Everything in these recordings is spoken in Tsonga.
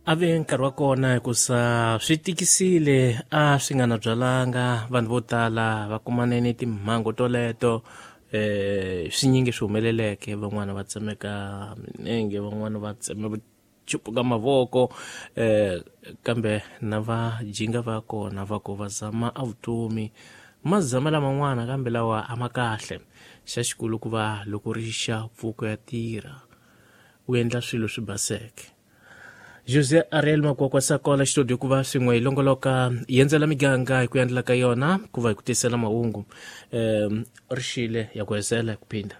A ve nkarhi wa kona hikusa swi tikisile a swi nga na byalanga vanhu vo tala va kumane ni timhangu toleto swinyingi swi humeleleke van'wana va tsemeka minenge van'wana va tseme chupuka mavoko kambe na va jinga va kona va ku va zama a vutomi ma zama laman'wana kambe lawa a ma kahle xa xikulu ku va loko ri xa pfuko ya tirha u endla swilo swi baseke. José Ariel Makwakwa Sakola xitudio ku va swin'we hi longoloka hi endzela miganga hi ku endla ka yona ku va hi ku tisela mahungu ri xile ya ku hesela hi ku phinda.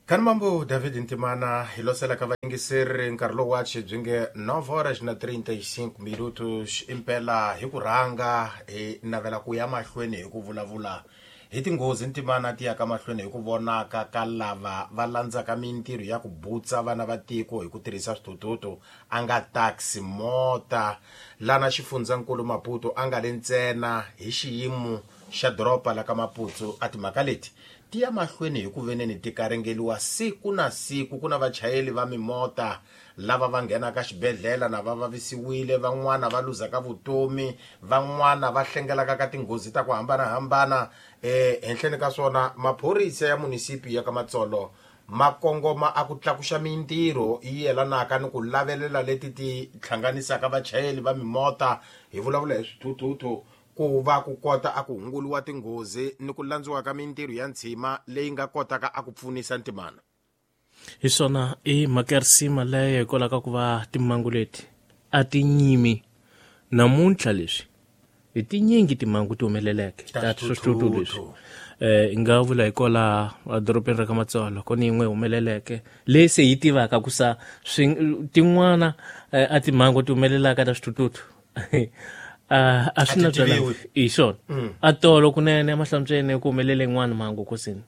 Khanimambu David Ntimana hi losela ka vayingiseri nkarhi lowu wachi byi nge 9 horas na 35 minutos impela hi ku rhanga hi navela ku ya mahlweni hi ku vulavula hi tinghozi Ntimana ti yaka mahlweni hi ku vonaka ka lava va landzaka mintirho ya ku butsa vana va tiko hi ku tirhisa swithuthuthu a nga taxi mota lana xifundzankulu Maputo a nga le ntsena hi xiyimo xa doroba la ka Maputo a timhaka leti ti ya mahlweni hi ku veneni ti karingeliwa siku na siku ku na vachayeli va mimota lava va nghenaka xibedhlele na va vavisiwile van'wana va luzaka vutomi van'wana va hlengelaka ka tinghozi ta ku hambanahambana henhleni ka swona maphorisa ya munisipi ya ka Matsolo ma kongoma a ku tlakuxa mintirho yi yelanaka ni ku lavelela leti ti hlanganisaka vachayeli va mimota hi vulavula hi swithuthuthu ku va ku kota a ku hunguliwa tinghozi ni ku landziwa ka mintirho ya ntshima leyi nga kotaka a ku pfunisa Ntimana. Hi swona i mhaka ya risima leyo hikwalaho ka ku va timhangu leti a ti nyimi namuntlha leswi hi tinyingi timhangu ti humeleleke ta swithuthuthu leswi hi nga vula hi kola edorobeni ra ka Matsolo ku ni yin'we humeleleke leyi se yi tivaka ku sa tin'wana a timhangu ti humelelaka ta swithuthuthu a swi na byala hi swona a tolo kunene emahlantsweni ku humelele yin'wana mhangu kosini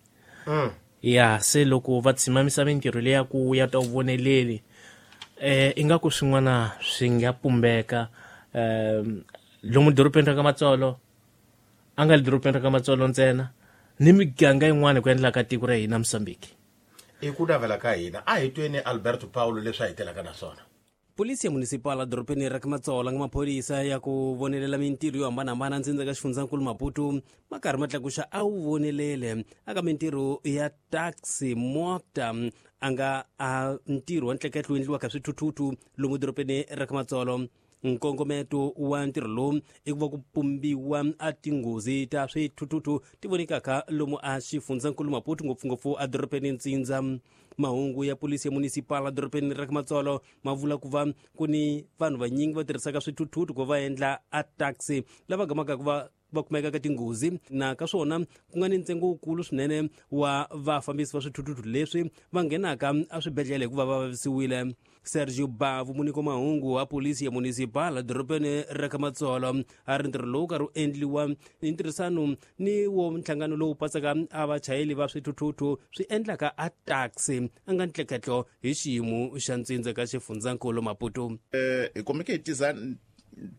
ya se loko va tshimamisa mintirho leya ku ya ta voneleli ingaku swin'wana swi nga pumbeka lomu dorobeni ra ka Matsolo a nga le dorobeni ra ka Matsolo ntsena ni miganga yin'wana ku endla ka tiko ra hina Mozambique. I ku navela ka hina a hi tweni Alberto Paulo leswi a hi telaka na swona. Polisi ya municipal edorobeni ra ka Matsolo nga maphorisa ya ku vonelela mintirho yo hambanahambana ndzindza ka xifundzankulu Maputo ma karhi ma tlakuxa a wu vonelele aka mintirho ya taxi mota a nga a ntirho wa ntleketlo wu endliwaka swithuthuthu lomu dorobeni ra ka Matsolo. Nkongometo wa ntirho lowu i ku va ku pumbiwa a tinghozi ta swithuthuthu ti vonikaka lomu a xifundzankulu Maputo ngopfungopfu edorobeni Ntsindza. Mahungu ya polisi ya municipal edorobeni ra ka Matsolo ma vula ku va ku ni vanhu vanyingi va tirhisaka swithuthuthu ku va endla a taxi lava gamaka ku va va kumeka ka tinghozi na ka swona ku nga ni ntsengo wukulu swinene wa vafambisi va swithuthuthu leswi va nghenaka eswibedhlele hikuva va vavisiwile. Sergio Bavu muniko mahungu wa polisi ya municipal edorobeni ra ka Matsolo a ri ntirho lowu karhi wu endliwa hi ntirhisano ni wo nhlangano lowu pasaka a vachayeli va swithuthuthu swi endlaka a taxi a nga ntleketlo hi xiyimo xa ntsindza ka xifundzankulu Maputo. Hi kumeke hi tiza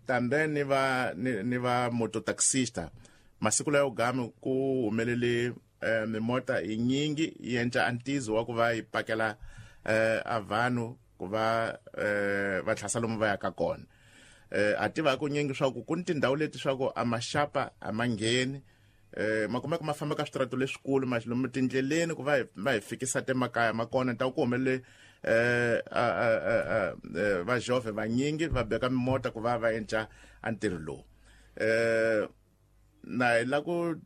tambe ni va ni va mototaxista masiku layo gami ku humelele mimota hi nyingi yi endla antizo wa ku va yi pakela a vanhu ku va va tlhasa lomu va yaka kona. A tiva ku nyingi swa ku ku ni tindhawu leti swa ku a maxapa a ma ngheni ma kumeka ma famba ka switrato leswikulu ma lomu tindleleni ku va va hi fikisa temakaya ma kona ta ku humelele va jove vanyingi va beka mimota ku va va endla a ntirho lowu. Na hi la ku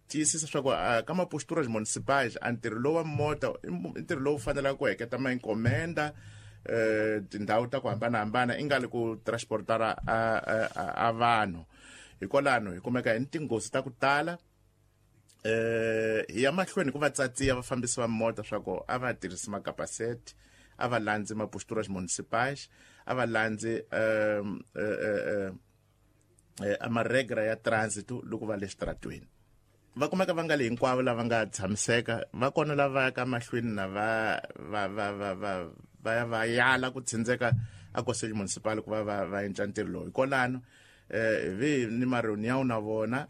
tiyisisa swa ku ka maposturas municipais a ntirho lowu wa mota i ntirho lowu fanelaka ku heketa ma encomenda tindhawu ta ku hambanahambana i nga li ku transportara a vanhu. Hikwalano hi kumeka hi ni tinghozi ta ku tala hi ya mahlweni ku va tsatsiya vafambisi va mota swa ku a va tirhisi makapaseti a va landzi maposturas municipais a va landzi a maregra ya transit loko va le xitaratweni. Va kumeka va nga le hinkwavo lava nga tshamiseka va kona lava yaka mahlweni na va va va va va va ya va yala ku tsindzeka a conselho municipal ku va va va endla ntirho lowu. Hikwalano vi ni mareunião na vona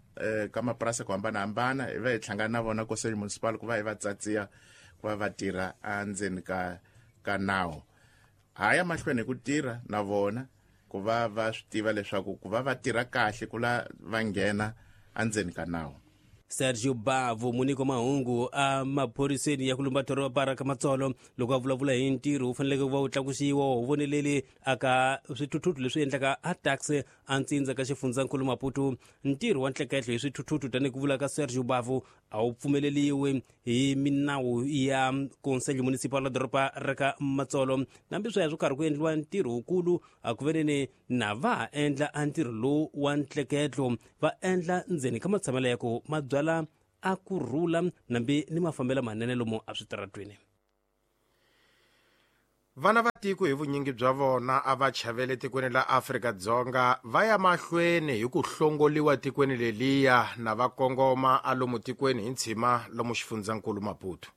ka mapurasi ku hambanahambana hi va hi hlangana na vona conselho municipal ku va hi va tsatsiya ku va va tirha endzeni ka ka nawu. Ha ya mahlweni hi ku tirha na vona ku va va swi tiva leswaku ku va va tirha kahle ku la va nghena endzeni ka nawu. Sergio Bavo, muniko mahungu a maphoriseni ya ku lumba doroba ra ka Matsolo, loko a vulavula hi ntirho wu faneleke ku va wu tlakusiwa wu voneleli aka swithuthuthu leswi endlaka a taxi a ntsindza ka xifundzankulu Maputo. Ntirho wa ntleketlo hi swithuthuthu tanihi ku vula ka Sergio Bavo a wu pfumeleliwi hi minawu ya Conselho Municipal la doroba ra ka Matsolo. Nambi sweswo karhi ku endliwa ntirho wukulu a ku veneni na va ha endla a ntirho lowu wa ntleketlo, va endla ndzeni ka matshamelo ya ku mabyala a ku rhula nambi ni mafambelo manene lomu eswitaratweni. Vana va tiko hi vunyingi bya vona a va chavele tikweni la Afrika-Dzonga va ya mahlweni hi ku hlongoliwa tikweni leliya na va kongoma a lomu tikweni hi ntshima lomu xifundzankulu Maputo.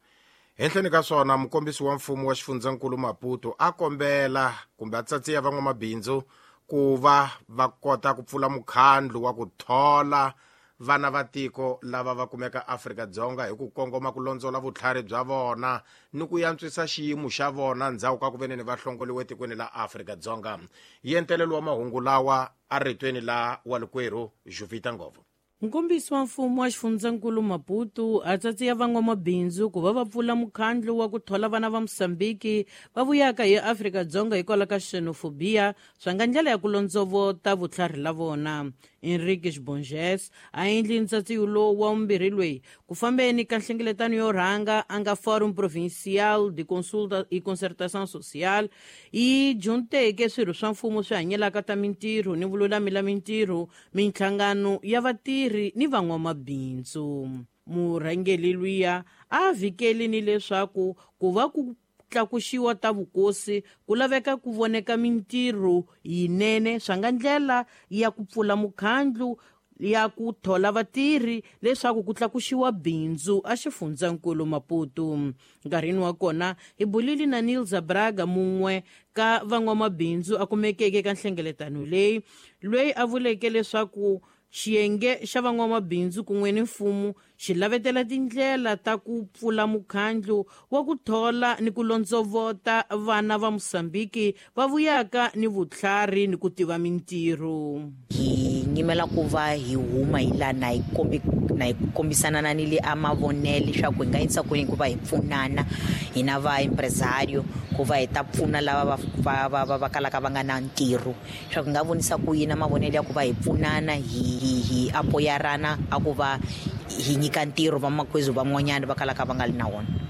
Henhleni ka swona, mukombisi wa mfumo wa xifundzankulu Maputo a kombela kumbe a tsatsiya van'wamabindzu ku va va kota ku pfula mukhandlu wa ku thola vana va tiko lava va kumeka Afrika-Dzonga hi ku kongoma ku londzola vutlhari bya vona ni ku yantswisa xiyimo xa vona ndzhaku ka ku veneni va hlongoliwe tikweni la Afrika-Dzonga. Yentelelo wa mahungu lawa a ritweni la walikwerhu Juvita Ngovo. Nkombisi wa mfumo wa xifundzankulu Maputo a tsatsiya van'wamabindzu ku va va pfula mukhandlu wa ku thola vana va Mosambiki va vuyaka hi Afrika-Dzonga hikwalaho ka xenophobia swa nga ndlela ya ku londzovota vutlhari la vona. Enrique Bonges a endli ntsatsiyo lowu wa vumbirhi loyi ku fambeni ka nhlengeletano yo rhanga a nga Forum Provincial de Consulta e Concertação Social yi junteke swirho swa mfumo swi hanyelaka ta mintirho ni vululami la mintirho, minhlangano ya vatirhi ni van'wamabindzu. Murhangeri luya a vhikeli ni leswaku ku va ku tlakuxiwa ta vukosi ku laveka ku voneka mintirho yinene swa nga ndlela ya ku pfula mukhandlu ya ku thola vatirhi leswaku ku tlakuxiwa bindzu a xifundzankulu Maputo. Nkarhini wa kona hi bulile na Nilza Braga, mun'we ka van'wamabindzu a kumekeke ka nhlengeletano leyi, loyi a vuleke leswaku xiyenge xa van'wamabindzu kun'we ni mfumo xi lavetela tindlela ta ku pfula mukhandlu wa ku thola ni ku londzovota vana va Mosambiki va vuyaka ni vutlhari ni ku tiva mintirho. Hi nyimela ku va hi huma hi laha na hi na hi kombisana na ni le a mavonelo leswaku hi nga yisa kwini ku va hi pfunana hina va empresario ku va hi ta pfuna lava va kalaka va nga na ntirho, leswaku hi nga vonisa ku yini mavonelo ya ku va hi pfunana hi apoyarana a ku va hi nyika ntirho vamakwezu van'wanyana va kalaka va nga li na wona.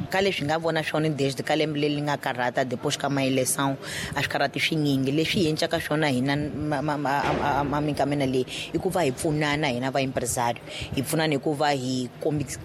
Ka leswi nga vona swona desde ka lembe leri nga karhata depois ka ma-eleição a swi karhati swinyingi. Leswi hi encaka swona hina minkamena leyi i ku va hi pfunana hina va empresario, hi pfunana hi ku va hi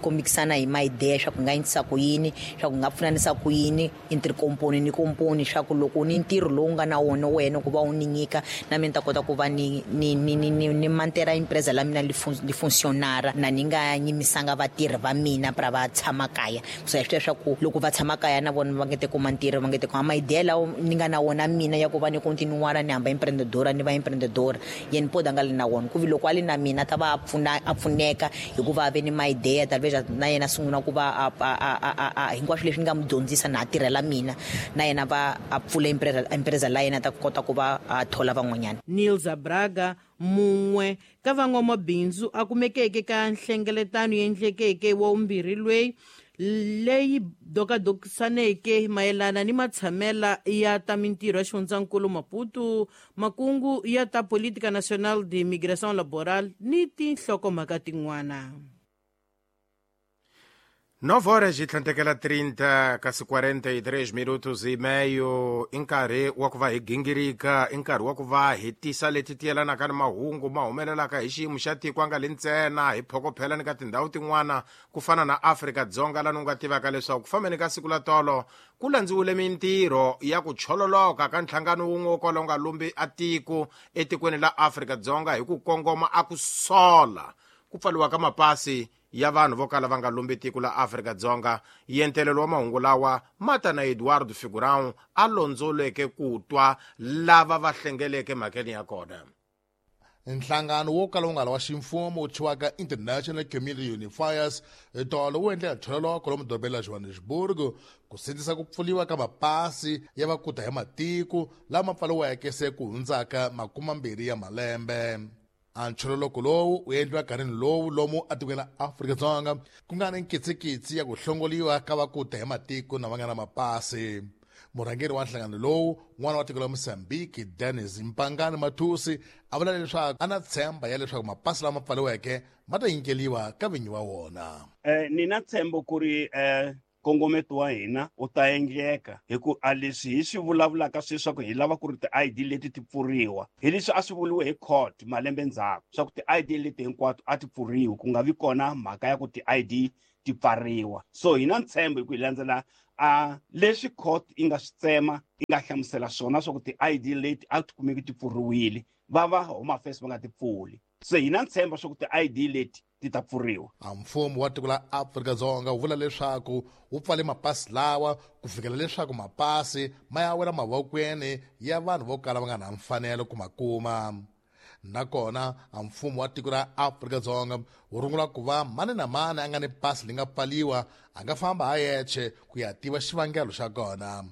kombisana hi ma-idea swa ku nga endlisa ku yini, swa ku nga pfunanisa ku yini entre komponi ni komponi, swa ku loko ni ntirho lowu nga na wona wena ku va u ni nyika na mina ni ta kota ku va ni ni ni ni ni ni mantera empresa la mina li funcionara na ni nga nyimisanga vatirhi va mina pra va tshama kaya. So hi swi tiva swa ku loko va tshama kaya na vona va nge te kuma ntirho, va nge te kuma ma-idea lawa ni nga na wona mina ya ku va ni continuara ni hamba empreendedora ni va empreendedora, yena podi a nga li na wona. Ku vi loko a li na mina ta va a pfuna, a pfuneka hikuva a ve ni ma-idea talvez na yena a sungula ku va a hinkwaswo leswi ni nga n'wi dyondzisa na a tirhela mina, na yena va a pfula empresa la yena ta kota ku va a thola van'wanyana. Nilza Braga, mun'we ka van'wamabindzu a kumekeke ka nhlengeletano yendlekeke wa vumbirhi loyi leyi dokadokisaneke mayelana ni matshamela ya ta mintirho ya xifundzankulu Maputo, makungu ya ta Política Nacional de Migração Laboral ni tinhlokomhaka tin'wana. 9 horas e 30 kasi 43 minutos e meio i nkarhi wa ku va hi gingirika, i nkarhi wa ku va hi tisa leti ti yelanaka ni mahungu ma humelelaka hi xiyimo xa tiko a nga li ntsena hi phokophela ni ka tindhawu tin'wana ku fana na Afrika-Dzonga lani u nga tivaka leswaku ku fambeni ka siku la tolo ku landziwile mintirho ya ku chololoka ka nhlangano wun'we wo kwala u nga lumbi a tiko etikweni la Afrika-Dzonga hi ku kongoma a ku sola ku pfaliwa ka mapasi ya vanhu vo kala va nga lumbi tiko la Afrika-Dzonga. Yentelelo wa mahungu lawa mata na Eduardo Figurão a londzoleke ku twa lava va hlengeleke mhakeni ya kona. Nhlangano wo kala wu nga ri wa ximfumo wu thyiwaka International Community Unifiers tolo wu endle nthololoko lomu dorobeni la Johannesburg ku sindzisa ku pfuriwa ka mapasi ya vakuta hi matiko lama pfariweke se ku hundzaka 20 ya malembe. A nchololoko lowu wu endliwa nkarhini lowu lomu atikweni la Afrika-Dzonga ku nga ni nkitsikitsi ya ku hlongoliwa ka vakuta hi matiko na va nga na mapasi. Murhangeri wa nhlangano lowu, n'wana wa tiko la Mozambique, Dennis Mpangani Mathusi, a vula leswaku a na tshemba ya leswaku mapasi lama pfariweke ma ta nyikeliwa ka vinyi wa wona. Ni na ntshembo ku ri nkongometo wa hina wu ta endleka hi ku a leswi hi swi vulavulaka sweswaku hi lava ku ri ti-ID leti ti pfuriwa hi leswi a swi vuriwe hi court malembe ndzhaku swa ku ti-ID leti hinkwato a ti pfuriwi, ku nga vi kona mhaka ya ku ti-ID ti pfariwa. So hi na ntshembo hi ku hi landzela a leswi court yi nga swi tsema yi nga hlamusela swona swa ku ti-ID leti a ti kumeki ti pfuriwile, va va Home Affairs va nga ti pfuli. Se hi na ntshembo swa ku ti-ID leti ti ta pfuriwa. A mfumo wa tiko la Afrika-Dzonga wu vula leswaku wu pfale mapasi lawa ku fikela leswaku mapasi ma ya wela mavokweni ya vanhu vo kala va nga na mfanelo ku ma kuma. Nakona a mfumo wa tiko ra Afrika-Dzonga wu rungula ku va mani na mani a nga ni pasi li nga pfaliwa a nga famba ha yexe ku ya tiva xivangelo xa kona.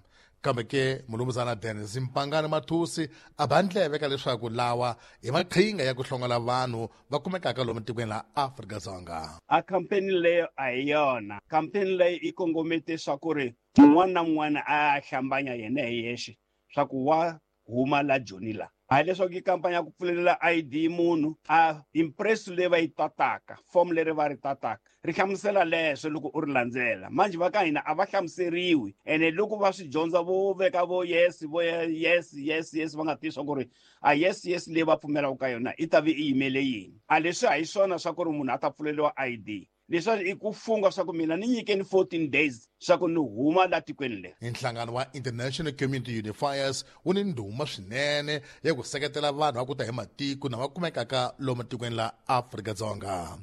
Kambe ke mulumuzana Dennis Mpangani Mathusi a ba ndleve ka leswaku lawa i maqhinga ya ku hlongola vanhu va kumekaka lomu tikweni la Afrika-Dzonga. A campaign leyo a hi yona. Campaign leyo yi kongomete swa ku ri un'wana na un'wana a hlambanya yena hi yexe swa ku wa huma la Joni la. A leswaku i kampani ya ku pfulelela ID munhu a impress leyi va yi tataka, form leri va ri tataka ri hlamusela leswo loko u ri landzela. Manjhe va ka hina a va hlamuseriwi, ene loko va swi dyondza vo veka vo yes, vo yes, yes, yes, va nga tivi swa ku ri a yes, yes leyi va pfumelaka ka yona i ta vi i yimele yini. A leswi a hi swona swa ku ri munhu a ta pfuleriwa ID. Leswi i ku funga swa ku mina ni nyikeni 14 days swa ku ni huma la tikweni leri. Nhlangano wa International Community Unifiers wu ni ndhuma swinene ya ku seketela vanhu va ku ta hi matiko na va kumekaka lomu tikweni la Afrika-Dzonga.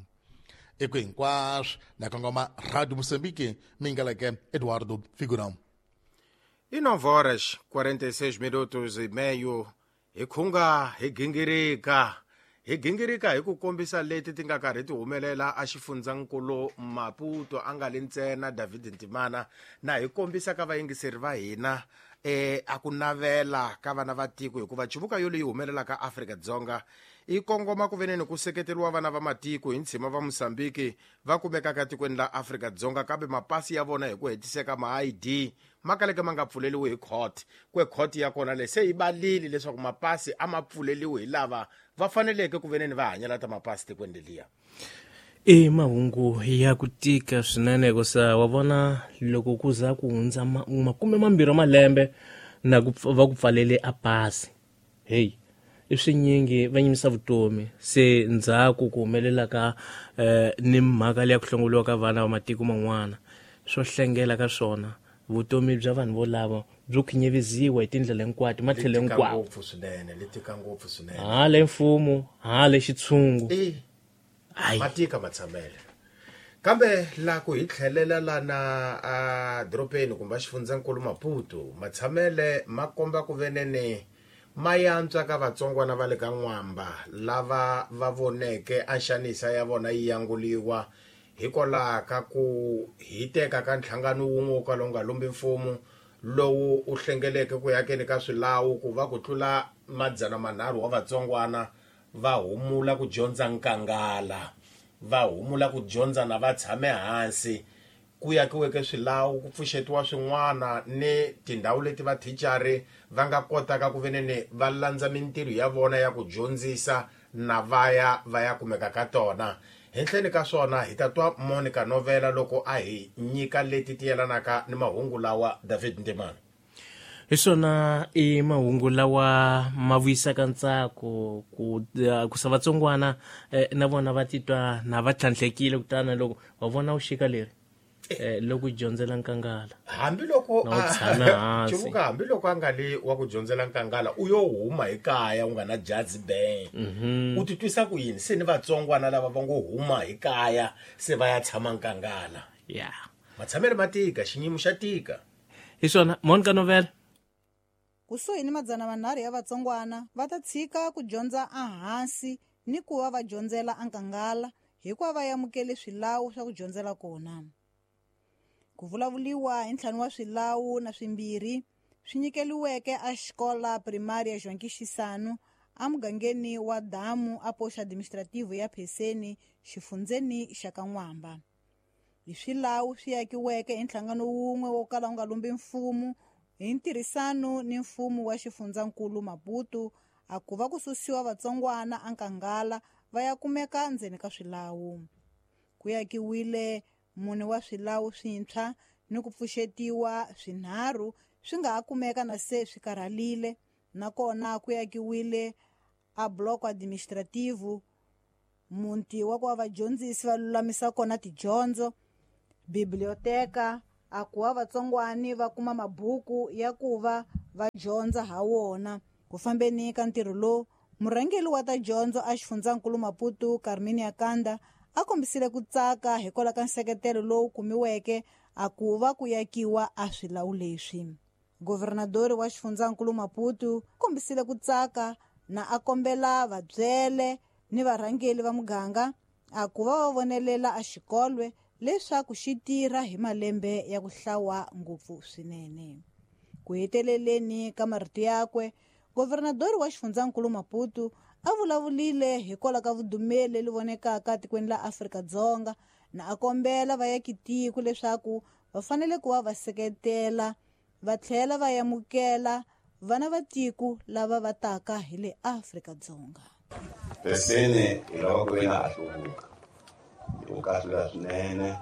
Eku hinkwaswo na kongoma Radio Mozambique, mingaleke Eduardo Figurão. I 9 horas 46 minutos e meio. Hi khunga hi gingirika. Hi gingirika hi ku kombisa leti ti nga karhi ti humelela a xifundzankulu Maputo a nga li ntsena David Ntimana, na hi kombisa ka vayingiseri va hina a ku navela ka vana va tiko, hikuva chivuka yo leyi humelelaka Afrika-Dzonga i kongoma ku veneni ku seketeriwa vana va matiko hi ntshima va Mozambique va kumekaka tikweni la Afrika-Dzonga, kambe mapasi ya vona hi ku hetiseka ma ID ma kaleke ma nga pfuleliwi hi court. Kwe court ya kona le se yi balile leswaku mapasi a ma pfuleliwi hi lava va faneleke ku veneni va hanyela ta mapasi tikweni leliya. I mahungu ya ku tika swinene hikusa wa vona loko ku za ku hundza 20 malembe na ku va ku pfalele a pasi, hey, i swinyingi va nyimisa vutomi. Se ndzhaku ku humelela ka ni mhaka leya ku hlongoliwa ka vana va matiko man'wana, swo hlengela ka swona vutomi bya vanhu volavo byo khinyevisiwa hi tindlela hinkwato, matlhelo hinkwawo. Ngopfu swinene, li tika ngopfu swinene. Hala mfumo, hala xitshungu. Matika matshamele. Kambe la ku hi tlhelela lana a doropeni kumbe xifundzankulu Maputo, matshamele ma komba ku venene ma yantswa ka vatsongwana va le ka N'wamba lava va voneke a nxanisa ya vona yi yanguliwa hikwalaho ka ku hiteka ka nhlangano wun'we wo kala wu nga lumbi mfumo lowu u hlengeleke ku yakeni ka swilawu ku va ku tlula 300 wa vatsongwana va humula ku dyondza nkangala, va humula ku dyondza na va tshame hansi, ku yakiweke swilawu, ku pfuxetiwa swin'wana ni tindhawu leti vathichari va nga kotaka ku veneni va landza mintirho ya vona ya ku dyondzisa na vaya va ya kumeka ka tona. Henhleni ka swona hi ta twa Monica Novela loko a hi nyika leti ti yelanaka ni mahungu lawa David Ntimana. Hi swona i mahungu lawa ma vuyisaka ntsako ku sa vatsongwana na vona va titwa na va tlhantlhekile, kutani loko wa vona u xika leri loko dyondzela nkangala. Hambiloko chivuka, hambiloko a nga li wa ku dyondzela nkangala, u yo huma hi kaya u nga na jazi ben. U titwisa ku yini se ni vatsongwana lava va ngo huma hi kaya se va ya tshama nkangala? Matshamelo ma tika, xinyimo xa tika. Hi swona, Monica Novela. Kusuhi ni 300 ya vatsongwana va ta tshika ku dyondza ehansi ni ku va va dyondzela enkangala hikuva va amukele swilawu swa ku dyondzela kona. Ku vulavuliwa hi 5 wa swilawu na 2 swi nyikeliweke a xikola primária João Quixisano emugangeni wa Damu a posto administrativo ya Pessene xifundzeni xa Kan'wamba. Hi swilawu swi akiweke hi nhlangano wun'we wo kala wu nga lumbi mfumo hi ntirhisano ni mfumo wa xifundzankulu Maputo a ku va ku susiwa vatsongwana enkangala va ya kumeka ndzeni ka swilawu. Ku akiwile 4 wa swilawu swintshwa ni ku pfuxetiwa 3 swi nga ha kumeka na se swi karhalile, nakona ku akiwile a bloco administrativo muti wa ku va vadyondzisi va lulamisa kona tidyondzo, biblioteka a ku va vatsongwani va kuma mabuku ya ku va va dyondza ha wona. Ku fambeni ka ntirho lowu, murhangeri wa ta dyondzo a xifundzankulu Maputo Carminia Kanda a kombisile ku tsaka hikwalaho ka nseketelo lowu kumiweke a ku va ku yakiwa a swilawu leswi. Governadori wa xifundzankulu Maputo kombisile ku tsaka na a kombela vabyele ni varhangeri va muganga a ku va va vonelela a xikolwe leswaku xi tirha hi malembe ya ku hlawa ngopfu swinene. Ku heteleleni ka marito yakwe, governadori wa xifundzankulu Maputo a vulavulile hikwalaho ka vudumeli leri vonekaka tikweni la Afrika-Dzonga na a kombela vayakitiko leswaku va fanele ku va va seketela va tlhela va amukela vana va tiko lava va taka hi le Afrika-Dzonga. Pessene hi lava ku ve na a hluvuka hi kahlula swinene,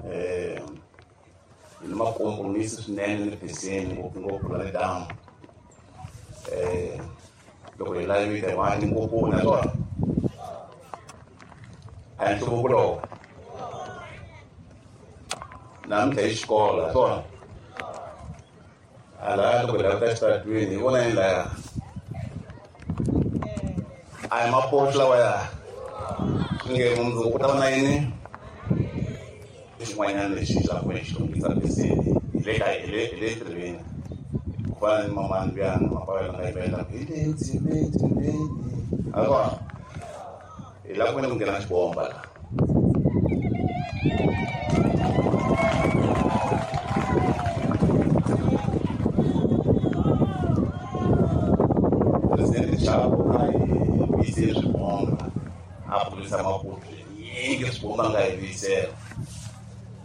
hi ni makompromisi swinene ni Pessene ngopfungopfu la le damu. Loko hi lavile vanhu ngopfu na swona a hi nhluvuko lowu namuntlha hi xikola swona a laya loko hi lava ta xitaratweni hi vona yini laya a hi mapoto lawa ya nge mundzuku ku ta va na yini xin'wanyana lexi xi lava ku xi lunghisa Pessene hi le ka hi le hi le ntirhweni ku fana ni mamani luyani mapavela nga yimbelela hi le ndzimeni a kona hi lava ku veni ku nghena xibomba la. Presidente Chapo a hi vuyisele swibomba a pfurisa Maputo nyingi swibomba nga hi vuyisela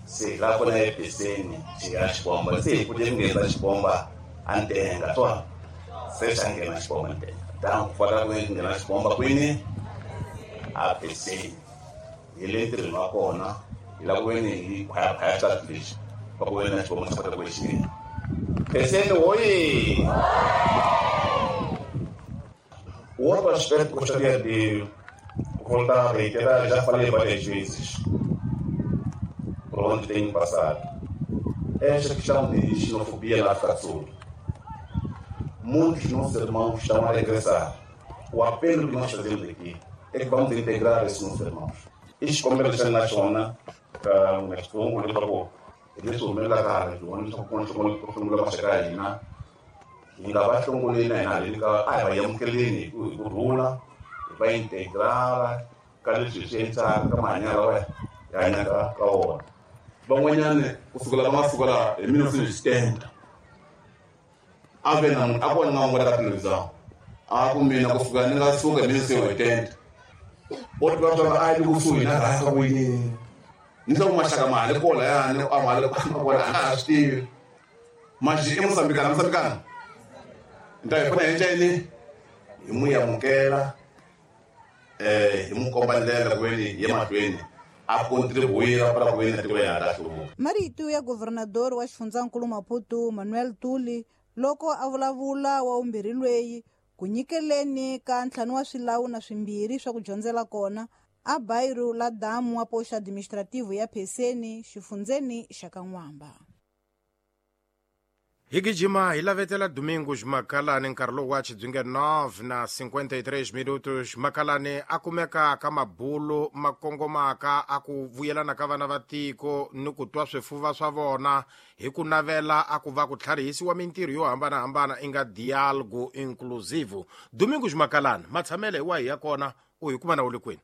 se hi lava kona ePessene xi ya xibomba se hi kute ku nghenisa xibomba a ntenga swona se xa nghena xibomba ntenga dan ku fanele ku nghena xibomba kwini a Pessene hi le ntirhweni wa kona hi lava ku veni hi khwayakhwaya xitatu lexi va ku veni na xibomba xa kota ku xi nghena Pessene hoye. O outro aspecto que gostaria de voltar a reiterar, já falei várias vezes, por onde tenho passado, é esta questão de xenofobia na África do Sul. Muitos nossos irmãos estão a regressar. O apelo que nós fazemos aqui é que vamos integrar esses nossos irmãos. Xikombelo xa na xona ka n'we leswaku hi leswi humelelaka hala leswaku ku hlongula maxaka ya hina hi nga va hlongoleni na hina haleni ka a hi va amukeleni hi ku rhula, hi va integrala ka leswi hi swi endlaka ka mahanyelo lawa hi hanyaka ka wona. Van'wanyani kusukela va nga suka laha hi 1970 a ve na munhu a kona nga n'wi ka television a ku mina kusuka ni nga suka hi 1970 o tiva swa a yi kusuhi na rhasa ku yini ni swa ku maxaka ma le kola yani a ma le kona a nga ha swi tivi maxi i Mosambikana Mosambikana nta hi fana hi endla yini hi n'wi amukela hi n'wi komba ndlela ku veni hi ye mahlweni a contribuir para ku veni na tiko ya ta hluvuka. Marito ya governador wa xifundzankulu Maputo Manuel Tuli loko a vulavula wa vumbirhi lweyi ku nyikeleni ka 5 wa swilawu na 2 swa ku dyondzela kona a bairro la Damu wa posto administrativo ya Pessene xifundzeni xa Kan'wamba. Hi gijima hi lavetela Domingos Makalani nkarhi lowu wa xidzunge 9 na 53 minutos. Makalani a kumeka ka mabulu ma kongomaka a ku vuyelana ka vana va tiko ni ku twa swifuva swa vona hi ku navela a ku va ku tlharihisiwa mintirho yo hambanahambana i nga dialogo inclusive. Domingos Makalani, matshamele hi wahi ya kona, u hi kuma na u le kwini?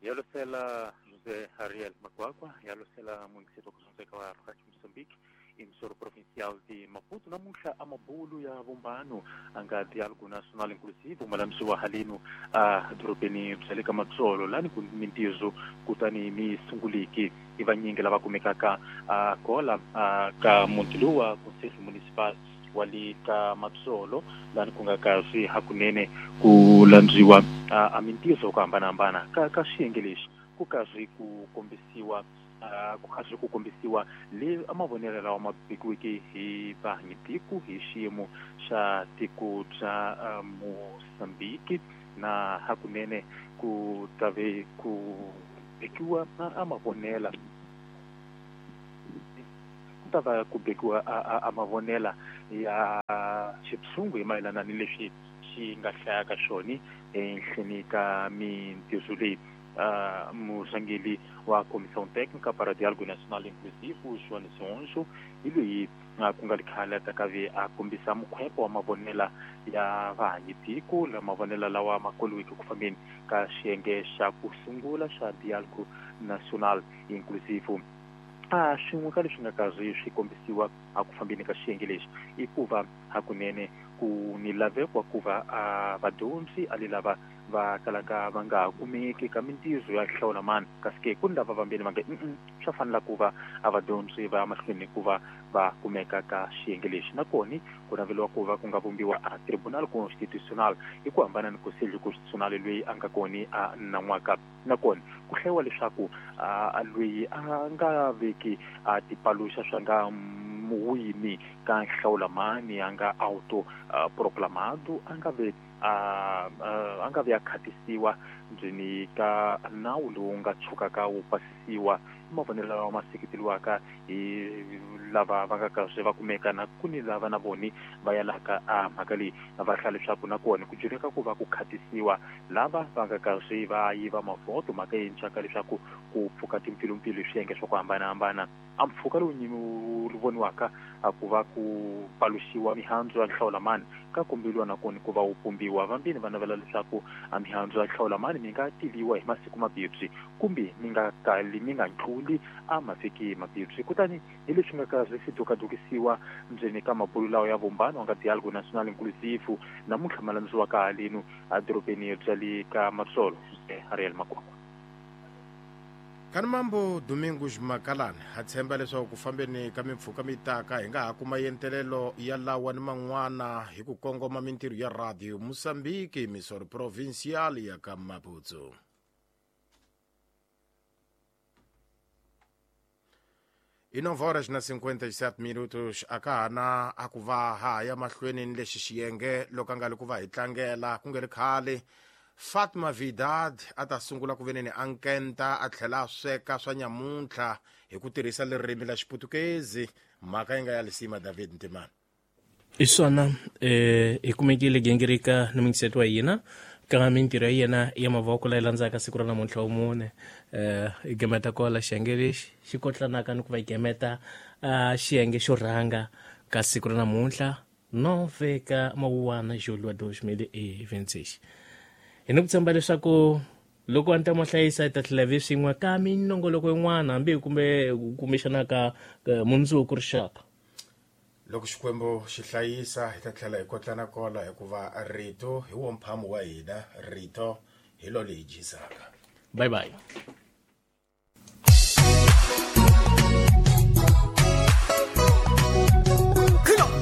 Yalosela José Ariel Makwakwa, yalosela município kuzunzeka wa Rádio Moçambique, emissora provincial de Maputo, namuntlha a mabulu ya vumbano a nga diálogo nacional inclusivo malamisiwa halenu a dorobeni bya le ka Matsolo lani ku mintirho kutani mi sunguliki i vanyingi lava kumekaka a kola a ka muti lowu wa conselho municipal wa le ka Matsolo lani ku nga kasi hakunene ku landziwa a mintirho ku hambanahambana ka xiyenge lexi ku karhi ku kombisiwa ku karhi ku kombisiwa le mavonelo lawa ma vekiweke hi vahanyitiko hi xiyimo xa tiko bya Mozambique na hakunene ku tave ku vekiwa a mavonela ku ta va ku vekiwa a mavonela ya xipsungu hi mayelana ni leswi xi nga hlayaka xona ehenhleni ka mintirho leyi. Murhangeri wa Comissão Técnica para Diálogo Nacional Inclusivo, João Zonjo, hi loyi ku nga ri khale ta ka ve a kombisa mukhwepo wa mavonela ya vahanyitiko la mavonela lawa ma koliweke ku fambeni ka xiyenge xa ku sungula xa Diálogo Nacional Inclusivo. Swin'we ka leswi nga karhi swi kombisiwa a ku fambeni ka xiyenge lexi i ku va hakunene ku ni laveko wa ku va vadyondzi a le lava va kalaka va nga kumeki ka mintirho ya hlawula mani kasi ke ku ni lava vambirhi va nge swa fanela ku va a vadyondzi va ya mahlweni ku va va kumeka ka xiyenge lexi. Nakona ku naveliwa ku va ku nga vumbiwa a tribunal constitutional hi ku hambana ni conselho constitucional loyi a nga kona a nan'waka. Nakona ku hlayiwa leswaku loyi a nga veki a tipaluxa swa nga muwini ka hlawula mani a nga auto proclamado a nga ve a nga ve a khatisiwa ndzeni ka nawu lowu nga tshukaka wu pasisiwa. I mavonelo lawa ma seketeriwaka hi lava va nga karhi va kumeka na ku ni lava na voni va yalaka a mhaka leyi va hlaya leswaku nakona ku dyuleka ku va ku khatisiwa lava va nga karhi va yiva mavhoto mhaka yintshwa leswaku ku pfuka timpfilumpfilu hi swiyenge swa ku hambanahambana. A mpfhuka lowu wu voniwaka a ku va ku paluxiwa mihandzu ya hlawula mani ka kombeliwa nakona ku va wu pumbiwa. Vambirhi va navela leswaku a mihandzu ya hlawula mani mi nga tiviwa hi masiku mabibyi kumbe mi nga kali mi nga ntluli a mavhiki mabibyi. Kutani hi leswi nga karhi swi dukadukisiwa ndzeni ka mabulu lawa ya vumbano wa nga Diálogo Nacional Inclusivo namuntlha ma landziwaka halenu a dorobeni bya le ka Matsolo. Ariel Makwakwa. Kanimambo Domingos Makalani ha tshemba leswaku ku fambeni ka mimpfhuka mi taka hi nga ha kuma yentelelo ya lawa ni man'wana hi ku kongoma mintirho ya Radio Moçambique, emissora provincial ya ka Maputo. I 9 horas na 57 minutos a ka ha na a ku va ha ya mahlweni ni lexi xiyenge loko a nga li ku va hi tlangela ku nge ri khale. Fatma Vidad a ta sungula ku veneni a nkenta a tlhela a sweka swa nyamuntlha hi ku tirhisa ririmi la Xiputukezi, mhaka yi nga ya lisima David Ntimana. I swona hi kumekile gingirika ni mingiseto wa hina ka mintirho ya yena ya mavoko leyi landzaka siku ra namuntlha wa mune. Hi gemeta kola xiyenge lexi xi kotlanaka ni ku va hi gemeta xiyenge xo rhanga ka siku ra namuntlha 9 ka mawuwana julho 2026. Hi ni ku tshemba leswaku loko a ni ta mo hlayisa hi ta tlhela vi swin'we ka minongoloko yin'wana hambi kumbe kumbexana ka mundzuku rixaka. Loko Xikwembu xi hlayisa hi ta tlhela hi kotlana kola hikuva rito hi wo mphamu wa hina, rito hi lo leyi dyisaka. Bye bye.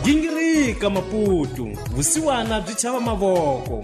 Gingirika Maputo, vusiwana byi chava mavoko.